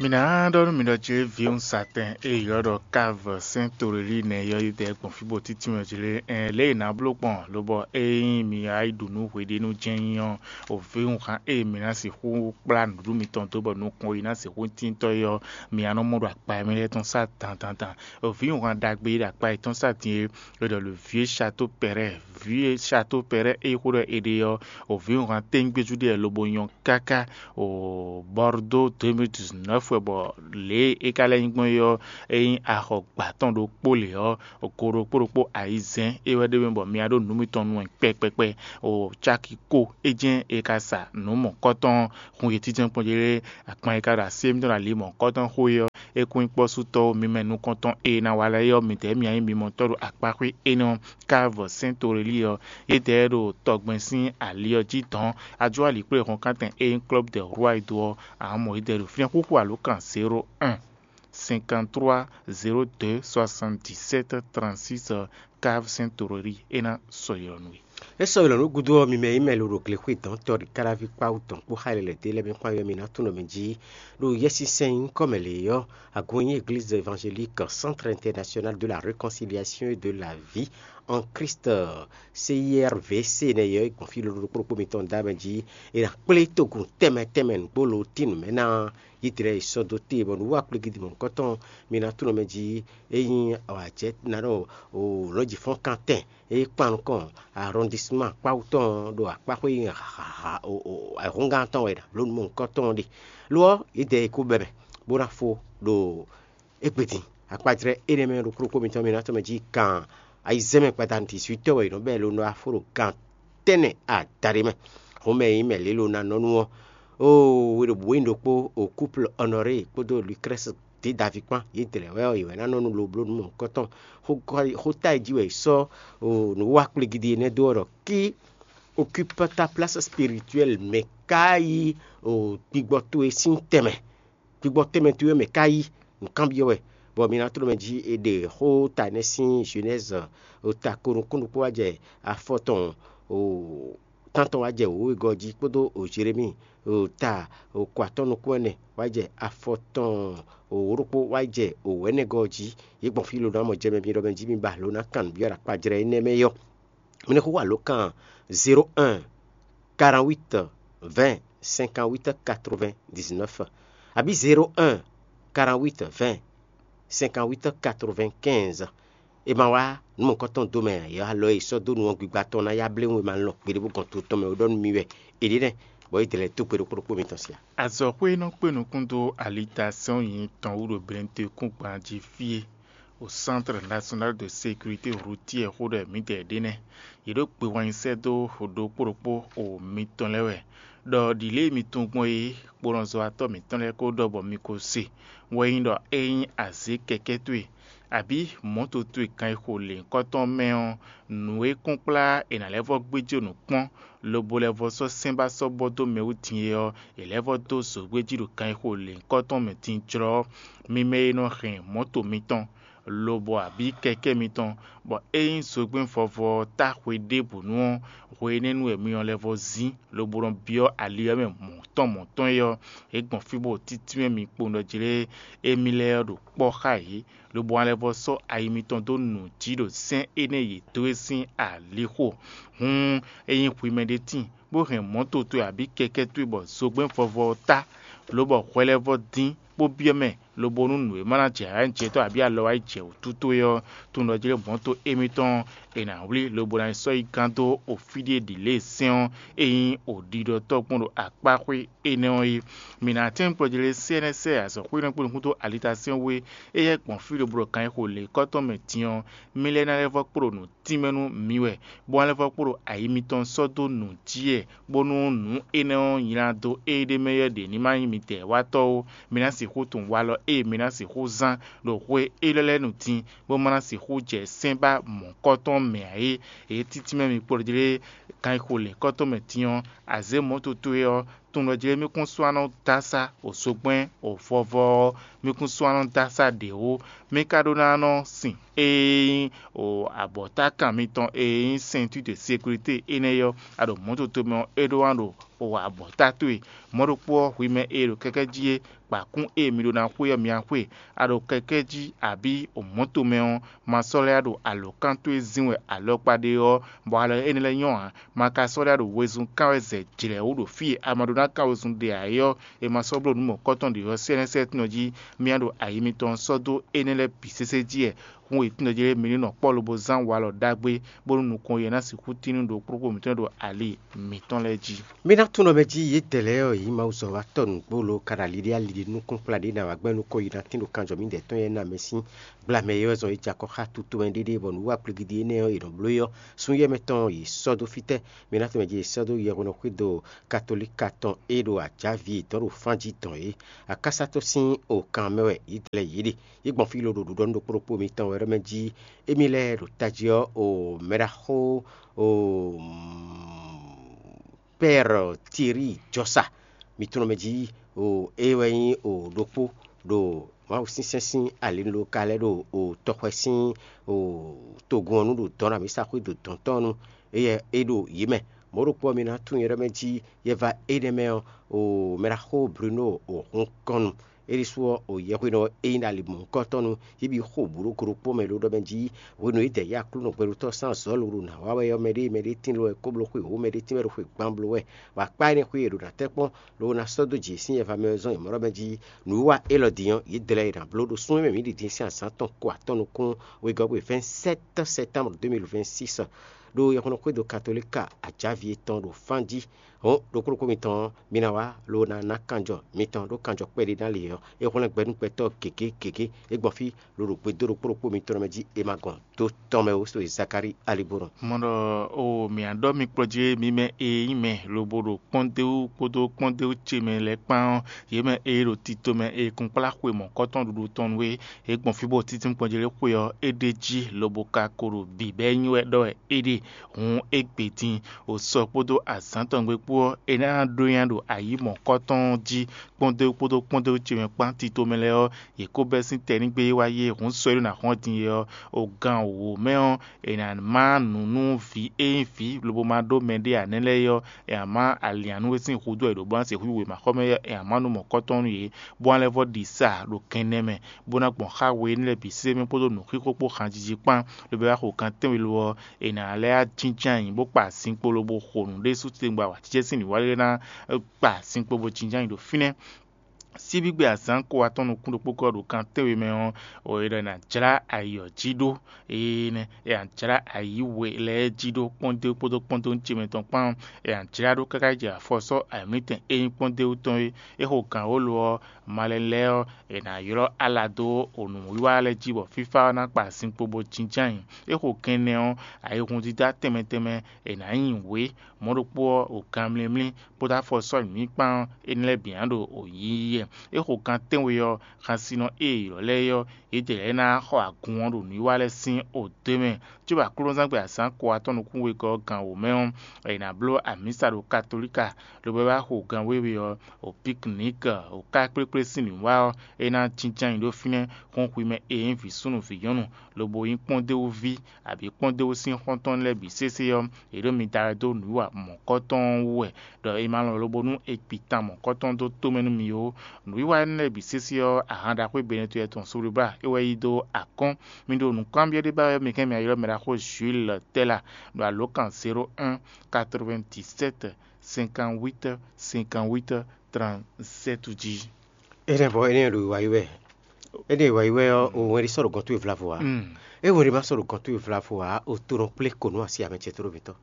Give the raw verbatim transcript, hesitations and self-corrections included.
Mi ná ɖɔ nú mi ɖɔ jí vǐwun satɛn e ylɔ́ ɖɔ Káv sɛ́n Torelíi nɛ́ yɔ́ yi dɛ gbɔn fí bó títí mɛ jí lé, ɛn lě e è nǎ bló gbɔn lobɔ ényí mi wá yi ɖu nǔ hweɖénu jɛ́n nyí ɔ́, o vǐwun hán e mi ná sixú kplá nǔɖuɖu mitɔn dó bɔ nukɔn yi ná sixú tíntɔ́ é ɔ́, mi wá nɔ mɔ ɖo akpa e mɛ lɛ́ɛ tɔn sá dandandan. O vǐwun hán ɖagbe e ɖo akpa yětɔn sá din é, è ɖɔ le vieux château Perret, vieux château Perret e xó ɖɔ è ɖe ɔ́, o vǐwun hán téŋgbéjú ɖe lobo nyɔ́ káká o Bordeaux deux mille dix-neuf wɛ bɔ lě e é ka lɛ́ nyí gbɔn é ɔ́, é nyí axɔgbǎ tɔn ɖokpó lě ɔ́, go ɖokpó ɖokpó ayizɛ́n é wɛ ɖ'é mɛ bɔ mi wá ɖó nǔ mitɔn nu wɛ kpɛkpɛkpɛ. O cáki kó é jɛ́n è ka sa nǔ mɔ̌kɔ́tɔn hun yětínjɛ́n kpɔ́n jí lé, akpan e ka ɖo así émítɔn ɖo ali mɔ̌kɔ́tɔn xó é ɔ́, é kún nyí kpɔ́sútɔ́ mimɛ nukɔntɔn e ná wa lɛ́ɛ é ɔ́, midɛɛ mǐ nyí mimɔtɔ́ ɖo akpaxwé énɛ́ ɔ́, Káv sɛ́n Torelíi ɔ́, yědɛɛ ɖo tɔgbɛn sín ali ɔ́ jí dɔ̌n. Ajó alikplé hɔnkántɛn e nyí Club des Rois e dó ɔ́, amɔ̌ yědɛɛ ɖo fínɛ́ xúxú alǒkan zéro un cinquante-trois zéro deux soixante-dix-sept trente-six, Káv sɛ́n Torelíi é ná sɔ́ ylɔ́ nú we. É sɔ́ ylɔ́ nú gúdo ɔ́, mi mɛ e nyí mɛ lo ɖo glexwé dɔ̌n tɔ́ ɖi káláví kpáwú tɔn kpó xá lɛ́lɛ̌ dé lɛ́ɛ mɛ kpán ɔ́, mi ná tunwun mɛ jí ɖo Yɛsinsɛn nyǐkɔ mɛ lě ɔ́, agun e nyí Église Évangélique Centre International de la Réconciliation et de la Vie en Christ, C I R V C nɛ́ ɔ́, é gbɔn fí lolo ɖokpó ɖokpó mitɔn dó amɛ jí, è nǎ kplé togun tɛnmɛ tɛnmɛ nǔgbó lo tín nǔ mɛ ná Yídlɛ́ɛ yi sɔ́ dó te bɔ nǔwiwa kplégídi mɔ̌hunkɔtɔn mi ná tunwun mɛ jí é nyí awǎjɛ ná ɖɔ lɔ̌njifɔ́nkantɛn e kpan nukɔn arɔndisman kpáwú tɔn ɖo akpáxwé ayǐhɔ́ngán tɔn wɛ ɖo nǔ mɔ̌hunkɔtɔn ɖe. Lo ɔ́, yě dɛ e kó bɛ́ mɛ bó ná fó ɖo égbé din. Akpajlɛ́ énɛ́ mɛ ɖokpó ɖokpó mitɔn mi ná tɔn mɛ jí kan ayizɛ́n mɛ gbadanu dixwítɔ́ wɛ è nɔ bɛ́ lo nɔ wá fó ɖo gan tɛ́nnɛ adaɖé mɛ. Hɔnmɛ e nyí mɛ lě lo ná nɔ nú ɔ́, oo, we ɖo bǔ nyí ɖokpó o couple Honoré kpódó Lucrèce dě Davi kpán, yě dlɛ̌ wɛ ɔ́, yě wɛ ná nɔ nú lo bló nǔ mɔ̌hunkɔtɔn. Xóta e jí wɛ è sɔ́ nǔwiwa kplégídi énɛ́ dó ɔ́ ɖɔ: "Qui occupe ta place spirituelle?" Mɛ ka yí gbigbɔ towe sín tɛnmɛ? Gbigbɔ tɛnmɛ towe mɛ ka yí? Nǔkanbyɔ́ wɛ, bɔ mi ná tló mɛ jí è ɖe xó ta énɛ́ sín Jenɛ́zi ta ko nukún ɖokpó wá jɛ afɔ tɔn tántɔn wá jɛ wěwegɔ́ jí kpódó Jeremíi ta ko atɔ́ nukún ɛnɛ wá jɛ afɔ tɔn wǒ ɖokpó wá jɛ wǒ ɛnɛgɔ́ jí. Yě gbɔn fí lo ná mɔ jɛ mɛ mi ɖɔ mɛ jí mi ba lo ná kan nǔbyɔ́ ɖo akpajlɛ́ énɛ́ mɛ yɔ́. Mi ní xo alǒkan zéro un quarante-huit vingt cinquante-huit quatre-vingt-dix-neuf, abǐ zéro un quarante-huit vingt cinquante-huit quatre-vingt-quinze. È ma wá nǔ mɔ̌hunkɔtɔn dó mɛ ǎ, alɔ e è sɔ́ dó nu ɔ́ gbigba tɔn ná yá bléwún e ma lɔn gbeɖé bó gɔn to tɔn mɛ ó ɖɔ nú mì wɛ. È ɖě nɛ́, bɔ é dlɛ́ dó gbe ɖokpó ɖokpó mitɔn sí a? Azɔ̌xwé e nɔ kpé nukún dó alitasɛ́n ɔ́ nyi tɔn wú ɖo Benɛtɔ́kúngban jí fí é, o Centre National de Sécurité Routière xó ɖɔ mǐdɛɛ ɖé nɛ́. Yě ɖo gbe wɛn nyi sɛ́ dó ɖokpó ɖokpó o mitɔn lɛ́ɛ wɛ, ɖɔ ɖǐlée mi tunwun gbɔn é, kponɔzɔ́watɔ́ mǐtɔn lɛ́ɛ ko ɖɔ bɔ mi ko se, wɛ nyí ɖɔ é nyí azě kɛkɛ́ towe, abǐ mɔ̌to towe kan e xo lěhunkɔtɔn mɛ ɔ́, nǔ e kún kplá è nǎ lɛ́ vɔ́ gbéjé nǔ kpɔ́n, lobo lɛ́ vɔ́ sɔ́ sɛ́n ba sɔ́ bɔ dó mɛ wú din é ɔ́, è lɛ́ vɔ́ dó zǒgbéjí ɖo kan e xo lěhunkɔtɔn mɛ din jlɔ́. Mi mɛ e nɔ hɛn mɔ̌to mitɔn, lobɔ abǐ kɛkɛ́ mitɔn, bɔ ényí zogbɛ́n vɔvɔ ɔ́ tá xwe ɖěbǔ nu ɔ́, hwe énɛ́ nu wɛ mi nɔ lɛ́ vɔ́ zín, lobo nɔ byɔ́ ali ɔ́ mɛ mɔ̌tɔn mɔ̌tɔn é ɔ́, é gbɔn fí bó títí mɛ mi kpowun ɖɔ jlé émí lɛ́ɛ ɔ́ ɖo kpɔ́ xá yě, lobo nɔ lɛ́ vɔ́ sɔ́ ayi mitɔn dó nǔ jí ɖo sɛ́n énɛ́ e yě dó é sín alixo. Hǔn, ényí hwi mɛɖé tíin, bó hɛn mɔ̌to towe abǐ kɛkɛ́ towe bɔ zogbɛ́n vɔvɔ ɔ́ tá, lobɔ hwɛ lɛ́ vɔ́ dín bó byɔ́ mɛ, lobo nú nǔ e ma ná jɛ ayǐjɛtɔ́ abǐ alɔ wá yi jɛ wǔtu towe ɔ́, tunwun ɖɔ jlé mɔ̌to émítɔn e nǎ wlí lobo ná yi sɔ́ yi gán dó ofíɖíe ɖi lě e sɛ́n ɔ́ e nyí oɖiɖɔtɔ́ gbɔn ɖo akpáxwé énɛ́ ɔ́ é. Mǐ ná tɛ́n kplɔ́ jlé sɛ́nɛ́sɛ́ azɔ̌xwénɔ kpó nukún dó alitasɛ́n wú é, éyɛ́ gbɔn fí ɖo blǒ kan e xo lě kɔ́tɔn mɛ din ɔ́, mí lɛ́ ná lɛ́ vɔ́ kpló nǔ tínmɛ nú mi wɛ, bó ná lɛ́ vɔ́ kpló ayi mitɔn sɔ́ dó nǔ jí wɛ, bónú nǔ énɛ́ ɔ́ nylá dó éɖée mɛ yɛ́ ɖě ní ma nyí midɛɛ watɔ́ ó. Mi ná sixú tunwun walɔ ée mi ná sixú zán ɖo xwe élɔ́ lɛ́ɛ nu din, bó ma ná sixú jɛ sɛ́n ba mɔ̌kɔ́tɔn mɛ ǎ é. Ě títí mɛ mi kplɔ́ jlé kan e xo lě kɔ́tɔn mɛ din ɔ́, azě mɔ̌ toto é ɔ́, tunwun ɖɔ jlé mí kún sú ná nɔ dó asá o zogbɛ́n o vɔvɔ ɔ́, mí kún sú ná nɔ dó asá ɖě ó. Mí ka ɖó ná nɔ sin e nyí o abɔ̌takan mitɔn e nyí ceinture de sécurité énɛ́ ɔ́, a ɖo mɔ̌ toto mɛ ɔ́, é ɖó ná ɖo o abɔ̌ta towe. Mɔ̌ ɖokpó ɔ́, hwi mɛ e ɖo kɛkɛ́ jí é, kpa kún e mi ɖó ná xwe ɔ́ mi wá xwe. A ɖo kɛkɛ́ jí abǐ o mɔ̌to mɛ ɔ́, ma sɔ́ lɛ́ ɖo alǒkan towe zín wɛ alɔkpa ɖe ɔ́, bɔ alɔ énɛ́ lɛ́ɛ nyɔ́ ǎ. Ma ka sɔ́ lɛ́ ɖo wezun kán wɛ zɛ jlɛ̌ wú ɖo fí e a ma ɖó ná kán wezun ɖe ǎ é ɔ́, è ma sɔ́ bló nǔ mɔ̌kɔtɔn ɖě ɔ́ sɛ́nɛ́sɛ́tɔ́ jí. Mi wá ɖo ayi mitɔn sɔ́ dó énɛ́ lɛ́ɛ bǐ sésé jí wɛ. Hun e tínɖɔ jí lɛ́ɛ mi ní nɔ kpɔ́ lobo zán walɔ ɖagbe, bónú nukɔn e ná sixú tín nú ɖokpóɖokpó mǐtɔn ɖo ali mǐtɔn lɛ́ɛ jí. Mi ná tunwun ɖɔ mɛ jí yědɛɛ lɛ́ɛ ɔ́, yě nyí Mawu zɔ́watɔ́ nǔgbó lo ka ɖo ali ɖé ali ɖé nukúnkplá ɖě ná wá gbɛ́ nukɔn yi ná tín ɖo kanjɔ mǐdɛɛ tɔn e ná mɛ sín gblamɛ é wɛ zɔn é jɛ akɔ xá tutomɛ ɖéɖé bɔ nǔ wa kplígídí énɛ́ ɔ́, è nɔ bló é ɔ́, súnnu yɛ́mɛ tɔn yě sɔ́ dó fítɛ́? Mi ná tunwun mɛ jí yě sɔ́ dó yɛhweɖɔxwído katolíka tɔn e ɖo ajǎví yětɔn ɖo fán jí dɔn é. Akásá tɔn sín okǎn mɛ wɛ yě dlɛ́ yě ɖe. Yě gbɔn fí lo ɖo ɖuɖɔ nú ɖokpó ɖokpó mitɔn wɛ ɖɔ mɛ jí émí lɛ́ɛ ɖo tají ɔ́, o mɛɖaxó o Pɛ́ɛr Tirí jɔsa. Mi tunwun mɛ jí o é wɛ nyí o ɖokpó ɖo Mawu sínsɛ́n sín alinu ɖo ka lɛ́ɛ ɖo o tɔxwɛ sín o togun ɔ́ nu ɖo dɔ̌n ɖo amǐsaxwé ɖo dɔ̌n tɔn nu. Éyɛ́ é ɖo yě mɛ. Mɔ̌ ɖokpó ɔ́, mi ná tunwun nyɛ ɖɔ mɛ jí yɛ va énɛ́ mɛ ɔ́, o mɛɖaxó Bruno o hun kɔn nu. É ɖésú ɔ́, o yɛhweɖɔ e nyí ɖo ali mɔ̌hunkɔtɔn nu, yě bǐ xo bǔ ɖo go ɖokpó mɛ ɖó ɖɔ mɛ jí hwenu e dɛ yí Aklúnɔ gbɛɖotɔ́ sín azɔ̌ lóɖo nǎ wa wɛ ɔ́, mɛɖé mɛɖé tín lo wɛ kóbló xwe wǒ, mɛɖé tín wɛ ɖo xwe gban bló wɛ, bɔ akpá énɛ́ xwé e è ɖǒ ná tɛ́ kpɔ́n lobo ná sɔ́ dó jǐ sín yɛva mɛ ɔ́ zɔ́n yě mɔ ɖɔ mɛ jí nǔwiwa élɔ́ din ɔ́, yě dlɛ́ yě ná bló ɖo súnnu e mɛ mǐ ɖi din sín azǎn tɔn ko atɔ́ nukún wegɔ́ gbe vɛ̌nsɛ́t sɛ́tánbru deux mille vingt-six ɖo yɛhweɖɔxwédo katolíka ajǎví yětɔn ɖo fán jí. Hɔn ɖokpó ɖokpó mitɔn ɔ́, mi ná wá lobo ná ná kanjɔ mitɔn ɖó kanjɔ kpɛɖé ná lě ɔ́, é hwlɛ́n gbɛ nú gbɛtɔ́ gěgé gěgé. É gbɔn fí loɖo gbe dó ɖokpó ɖokpó mitɔn mɛ jí è ma gɔn dó tɔn mɛ ó, so e Zakalíi alibónɔ. Mɔ ɖɔ o mǐ á ɖɔ mi kplɔ́ jí mi mɛ e nyí mɛ lobo ɖo kpɔ́ndéwú kpódó kpɔ́ndéwú ce mɛ lɛ́ɛ kpán ɔ́, yě mɛ e ɖo tito mɛ e kunkplá xwe mɔ̌kɔ́tɔn ɖuɖu tɔn nú é, é gbɔn fí bó títín kpɔ́njé lé xwe ɔ́, é ɖ'é jí lobo ka ko ɖo bǐ bɔ é nyí wɛ ɖɔ wɛ é ɖe. Hǔn égbé din, o sɔ kpódó azǎn tɔn gbe kpó ɔ́, è nǎ ɖó nya ɖo ayǐ mɔ̌kɔ́tɔn ɔ́ jí kpɔ́ndéwú kpódó kpɔ́ndéwú ce mɛ kpán tito mɛ lɛ́ɛ ɔ́, yě ko bɛ́ sín tɛnígbe e wá yí e hǔn sɔ e ɖo ná hɔn din é ɔ́, o gan wǒ mɛ ɔ́, è nǎ má nǔ nú vǐ e nyí vǐ lobo ma ɖó mɛɖé ǎ nɛ́ lɛ́ɛ é ɔ́, è nǎ má aliǎn nú é sín hudó e ɖǒ bó ná se xwíxwe mǎxɔ́ mɛ é, è nǎ má nú mɔ̌kɔ́tɔn nú yě, bó ná lɛ́ vɔ́ ɖi sa ɖo kɛnɛ mɛ, bó ná gbɔn xá we énɛ́ lɛ́ɛ bǐ sésé mɛ kpódó nǔxíxó kpó hanjiji kpán, lobo wá xo gan tɛ́nwe lo ɔ́, è nǎ lɛ́ wá jínjɔ́n ayǐ bó kpa zinkpo lobo xo nǔ ɖésú titewungbe awǎjijɛ sín nǔwiwa lɛ́ɛ ná kpa zinkpo bó jínjɔ́n ayǐ ɖo fínɛ́. Síbígbe azǎn ko atɔ́ nukún ɖokpó kɔ ɖo kan tɛ́nwe mɛ ɔ́, è ɖɔ è nǎ jlá ayǐ ɔ́ jí ɖó. Énɛ́ è nǎ jlá ayǐ we lɛ́ɛ jí ɖó kpɔ́ndé kpódó kpɔ́ndó ce mɛ tɔn kpán. È nǎ jlá ɖó káká yi jɛ afɔ sɔ́ ayǐmlítɛn e nyí kpɔ́ndéwú tɔn é. É xo gǎn wǒ lo ɔ́, malɛ lɛ́ɛ ɔ́, è nǎ ylɔ́ ala dó nǔwiwa lɛ́ɛ jí bɔ fífá ɔ́ ná kpa zinkpo bó jínjɔ́n ayǐ. É xo kɛnɛ ɔ́, ayihúndídá tɛnmɛ tɛnmɛ è nǎ nyi wě. Mɔ̌ ɖokpó ɔ́, o ganmlímlí kpódó afɔsɔ́ nyǐkpán ɔ́, énɛ́ lɛ́ɛ bǐ ná ɖo yiyi wɛ. É xo gan tɛ́nwe ɔ́, xansinɔ e è ylɔ̌ lɛ́ɛ é ɔ́, yědɛɛ lɛ́ɛ ná xɔ agun ɔ́ ɖo nǔwiwa lɛ́ɛ sín odé mɛ. Cóbɔ aklúnɔzán gbe azǎn ko atɔ́ nukún wegɔ́ ɔ́ gan wǒ mɛ ɔ́, è nǎ bló amǐsa ɖo katolíka, lobo wá xo gan wěwe ɔ́, o piknik, o ká kplékplé sín nǔwiwa ɔ́, é ná jínjɔ́n ayǐ ɖó fínɛ́. Hɔn hwi mɛ e nyí vǐ súnnu vǐ nyɔ́nu, lobo nyí kpɔ́ndéwúví, abǐ kpɔ́ndéwú sín xɔ́ntɔn lɛ́ɛ bǐ sésé ɔ́, yě ɖo mi da wɛ dó nǔwiwa mɔ̌kɔtɔn ɔ́ wú wɛ, ɖɔ è ma lɔn lobo nú è kpi tan mɔ̌kɔtɔn dó tomɛ nú mi ó. Nǔwiwa énɛ́ lɛ́ɛ bǐ sésé ɔ́, ahan ɖaxó e Benɛtɔ́ tɔn Sublibla é wɛ yí dó akɔ́n. Mi ɖo nǔkánbyɔ́ ɖé ba wɛ mi kɛn mi ylɔ́ mɛ ɖaxó Jules Tɛ́la ɖo alǒkan zéro un, quatre-vingt-dix-sept, cinquante-huit, cinquante-huit, trente-sept jí. Énɛ́ bɔ énɛ́ ɖo wa yi wɛ. Énɛ́ wa yi wɛ ɔ́, o wɛn ɖi sɔ́ ɖo gɔn towe vlavo ǎ. Mm. É wɛn ɖi ma sɔ́ ɖo gɔn towe vlavo ǎ, o to nɔ kplé ko nú asi amɛ ce tlóló mǐtɔn.